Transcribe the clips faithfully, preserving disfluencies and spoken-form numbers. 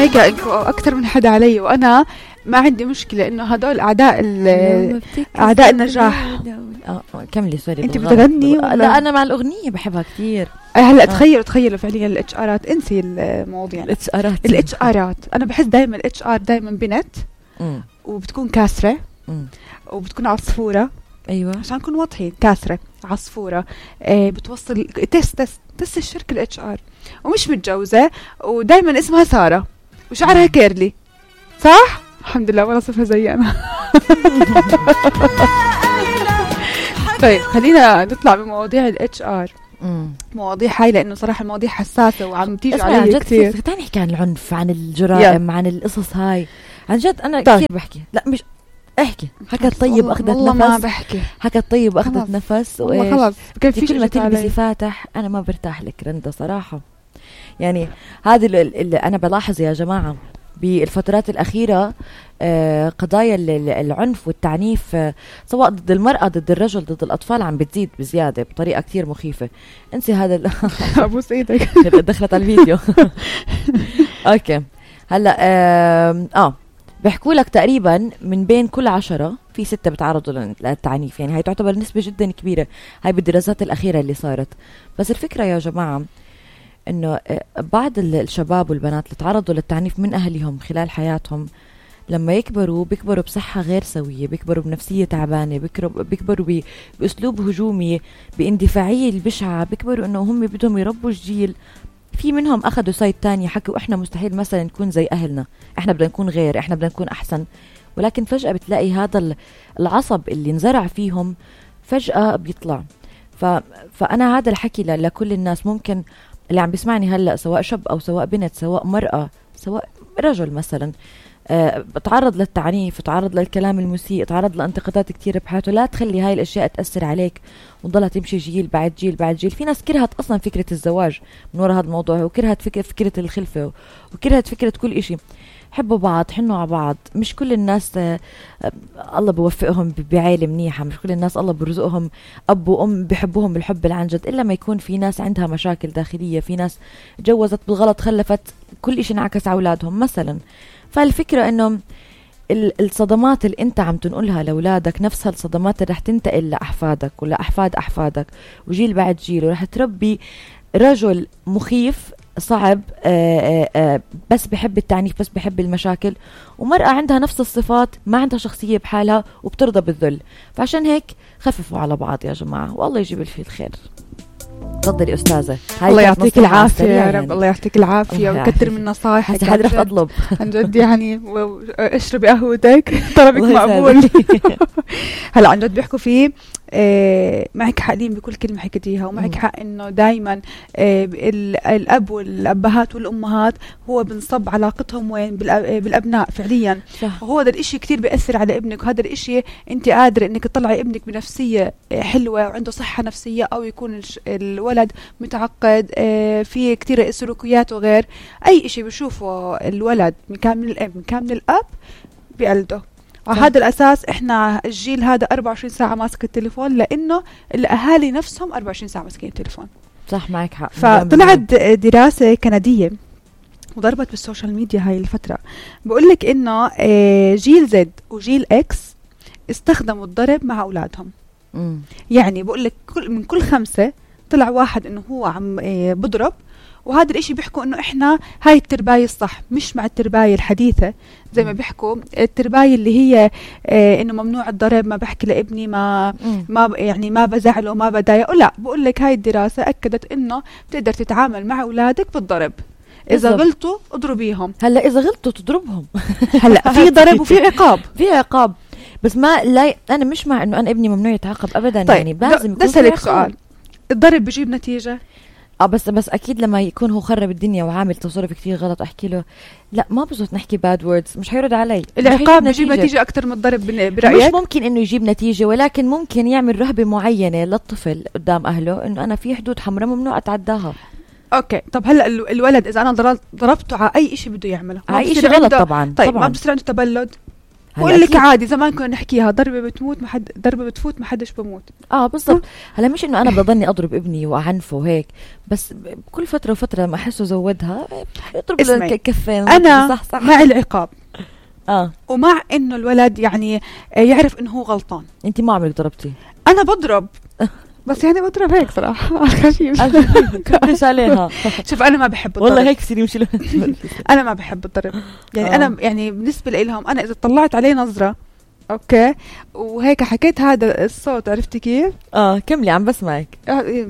هيك انكم اكثر من حدا علي، وانا ما عندي مشكله انه هدول اعداء اعداء النجاح. اه كملي سوري. انت بتغني؟ لا انا مع الاغنيه بحبها كثير. هلا تخيلوا تخيلوا فعليا الاتش ارات، انسي المواضيع. الاتش ارات الاتش ارات انا بحس دائما الاتش ار دائما بنت مم. وبتكون كاسره مم. وبتكون عصفوره. ايوه عشان نكون واضحين، كاسره عصفوره آه بتوصل تست تست تست الشركه الاتش ار، ومش متجوزه، ودائما اسمها ساره وشعرها كيرلي. صح؟ الحمد لله ولا صفها زي انا. طيب خلينا نطلع بمواضيع الاتش ار. مواضيع هاي لانه صراحه المواضيع حساسه وعم تيجي علي كثير. تعال نحكي عن العنف، عن الجرائم، عن القصص هاي. عن جد انا طيب. كثير بحكي. لا مش احكي. حكت طيب اخذت نفس. والله ما بحكي. حكت طيب اخذت نفس. والله خلص كيف في كلمه تلبسي فاتح. انا ما برتاح لك رندا صراحه. يعني هذا اللي انا بلاحظ يا جماعه بالفترات الأخيرة، آه قضايا العنف والتعنيف، آه سواء ضد المرأة ضد الرجل ضد الأطفال عم بتزيد بزيادة بطريقة كتير مخيفة. انسي هذا أبوس إيدك. دخلت على الفيديو. أوكي هلأ آه, آه بيحكوا لك تقريبا من بين كل عشرة في ستة بتعرضوا للتعنيف. يعني هاي تعتبر نسبة جدا كبيرة هاي بالدراسات الأخيرة اللي صارت. بس الفكرة يا جماعة انه بعض الشباب والبنات اللي تعرضوا للتعنيف من اهلهم خلال حياتهم لما يكبروا بيكبروا بصحة غير سوية، بيكبروا بنفسية تعبانة، بيكبروا, بيكبروا باسلوب هجومي، باندفاعية البشعة، بيكبروا انه هم بدهم يربوا الجيل. في منهم اخذوا سايد تاني حكوا احنا مستحيل مثلا نكون زي اهلنا، احنا بدنا نكون غير، احنا بدنا نكون احسن. ولكن فجأة بتلاقي هذا العصب اللي انزرع فيهم فجأة بيطلع. ف... فانا هذا الحكي لكل الناس، ممكن اللي عم بيسمعني هلأ سواء شاب أو سواء بنت، سواء مرأة سواء رجل مثلا، أه بتعرض للتعنيف، تعرض للكلام المسيء، تعرض لانتقادات كتير بحياته، لا تخلي هاي الأشياء تأثر عليك وتضلها تمشي جيل بعد جيل بعد جيل. في ناس كرهت أصلا فكرة الزواج من وراء هذا الموضوع، وكرهت فكرة, فكرة الخلفة، وكرهت فكرة كل إشي. حبوا بعض، حنوا على بعض. مش كل الناس آه الله بوفقهم بعائلة منيحة، مش كل الناس الله برزقهم أب وأم بحبوهم بالحب العن جد، إلا ما يكون في ناس عندها مشاكل داخلية، في ناس جوزت بالغلط خلفت كل إشي انعكس على أولادهم مثلا. فالفكرة إنه الصدمات اللي أنت عم تنقلها لأولادك نفسها الصدمات اللي رح تنتقل لأحفادك ولا أحفاد أحفادك وجيل بعد جيل، ورح تربي رجل مخيف صعب آآ آآ بس بحب التعنيف، بس بحب المشاكل، ومرأة عندها نفس الصفات ما عندها شخصية بحالها وبترضى بالذل. فعشان هيك خففوا على بعض يا جماعة، والله يجيب الفي الخير. تفضلي أستاذة. الله يعطيك العافية يا رب. الله يعطيك العافية وكتر من نصايحك. هذا رح أطلب عن جد يعني اشربي قهوتك طلبك مقبول. هلا عن جد بيحكوا فيه آه معك حقين بكل كلمة حكيتيها، ومعك حق إنه دايما آه الأب والأبهات والأمهات هو بنصب علاقتهم وين بالأبناء فعليا. صح. وهو هذا الإشي كتير بيأثر على ابنك، وهذا الإشي أنت قادرة إنك تطلعي ابنك بنفسية حلوة وعنده صحة نفسية، أو يكون الولد متعقد آه في كتير سلوكيات وغير أي إشي بيشوفه الولد من كان من الأب من كان من الأب بقلده. على هذا الأساس إحنا الجيل هذا أربعة وعشرين ساعة ماسك التليفون، لأنه الأهالي نفسهم أربعة وعشرين ساعة ماسكين التليفون. صح معك حق. فطلعت دراسة كندية وضربت بالسوشيال ميديا هاي الفترة، بقولك إنه جيل زد وجيل إكس استخدموا الضرب مع أولادهم. مم. يعني بقولك كل من كل خمسة طلع واحد إنه هو عم بضرب، وهذا الاشي بيحكوا انه احنا هاي الترباية الصح، مش مع الترباية الحديثة زي ما بيحكوا الترباية اللي هي اه انه ممنوع الضرب، ما بحكي لابني ما ما يعني ما بزعله ما بضايقه. لا، بقول لك هاي الدراسة اكدت انه بتقدر تتعامل مع اولادك بالضرب. اذا غلطوا اضربيهم. هلا اذا غلطوا تضربهم. هلا في ضرب وفي عقاب. في عقاب بس ما لا انا مش مع انه انا ابني ممنوع يتعاقب ابدا. طيب يعني لازم يكون في عقاب. سؤال، الضرب بيجيب نتيجة؟ اه بس بس اكيد لما يكون هو خرب الدنيا وعامل تصرف كتير غلط احكي له لا ما بزبط نحكي باد ووردز، مش حيرد علي. العقاب بيجيب نتيجة. نتيجة اكتر من الضرب برايك؟ مش ممكن انه يجيب نتيجة، ولكن ممكن يعمل رهبة معينة للطفل قدام اهله انه انا في حدود حمراء ممنوع اتعداها. اوكي طب هلا الولد اذا انا ضربته على اي شيء بده يعمله اي شيء غلط طبعا. طيب طبعاً. ما بصير عنده تبلد؟ بقول لك عادي زمان كنا نحكيها ضربة بتموت ما حد ضربة بتفوت ما حدش بموت. اه بالضبط. هلا مش انه انا بضلني اضرب ابني واعنفه وهيك، بس كل فترة وفترة ما احسه زودها اضرب له كفين. انا صح صح. مع العقاب اه ومع انه الولد يعني يعرف انه هو غلطان. انت ما عمرك ضربتي؟ انا بضرب بس يعني بضرب هيك صراحة على الخفيف. ليش عليها؟ شوف أنا ما بحب الضرب والله هيك سيري مشي. أنا ما بحب الضرب يعني آه. أنا يعني بالنسبة لهم أنا إذا طلعت عليه نظرة أوكي وهيك حكيت هذا الصوت عرفتي كيف؟ آه كملي عم بسمعك.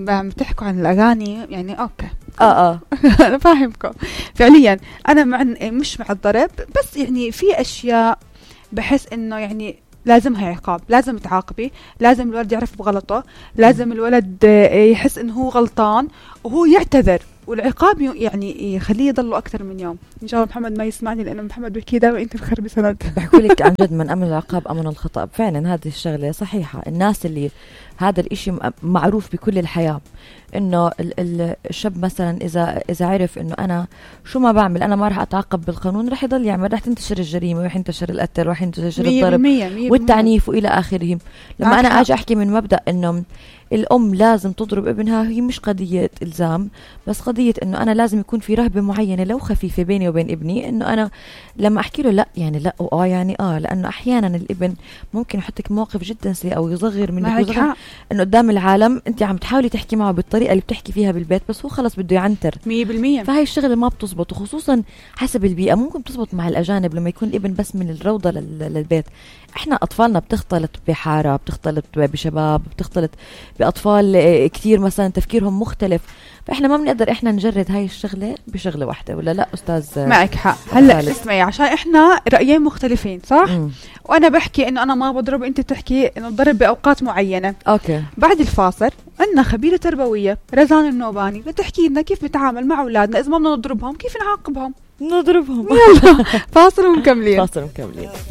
عم بتحكوا عن الأغاني يعني أوكي آه آه أنا فاهمكم فعليا. أنا مع مش مع الضرب بس يعني في أشياء بحس إنه يعني لازمها عقاب، لازم تعاقبي، لازم الولد يعرف بغلطه، لازم الولد يحس انه هو غلطان وهو يعتذر، والعقاب يعني يخليه يضله اكثر من يوم. ان شاء الله محمد ما يسمعني لانه محمد بيحكي دائما انت بخربي سند. بحكي لك عن جد من امن العقاب امن الخطا. فعلا هذه الشغله صحيحه. الناس اللي هذا الاشي معروف بكل الحياه انه الشاب مثلا اذا اذا عرف انه انا شو ما بعمل انا ما راح اتعاقب بالقانون رح يضل يعمل، رح تنتشر الجريمه ورح ينتشر القتل ورح ينتشر الضرب والتعنيف والى اخره. لما انا اجي احكي من مبدا انه الام لازم تضرب ابنها، هي مش قضيه الزام بس قضيه انه انا لازم يكون في رهبه معينه لو خفيفه بيني وبين ابني، انه انا لما احكي له لا يعني لا واه يعني اه، لانه احيانا الابن ممكن يحطك موقف جدا سيء او يصغر منك ويصغر انه قدام العالم انت عم تحاولي تحكي معه بالطريقه اللي بتحكي فيها بالبيت بس هو خلص بده يعنتر مية بالمية. فهي الشغله ما بتزبط، وخصوصا حسب البيئه. ممكن تزبط مع الاجانب لما يكون الابن بس من الروضه للبيت. احنا اطفالنا بتختلط بحاره، بتختلط بشباب، بتختلط باطفال كثير مثلا تفكيرهم مختلف، فاحنا ما بنقدر احنا نجرد هاي الشغله بشغله واحده. ولا لا استاذ؟ معك حق. هلا اسمعي عشان احنا رايين مختلفين صح؟ مم. وانا بحكي انه انا ما بضرب، انت بتحكي انه الضرب باوقات معينه. اوكي. بعد الفاصل عندنا خبيره تربويه رزان النوباني بتحكي لنا كيف نتعامل مع اولادنا اذا ما بدنا نضربهم، كيف نعاقبهم. نضربهم. يلا فاصل ومكملين. فاصل ومكملين.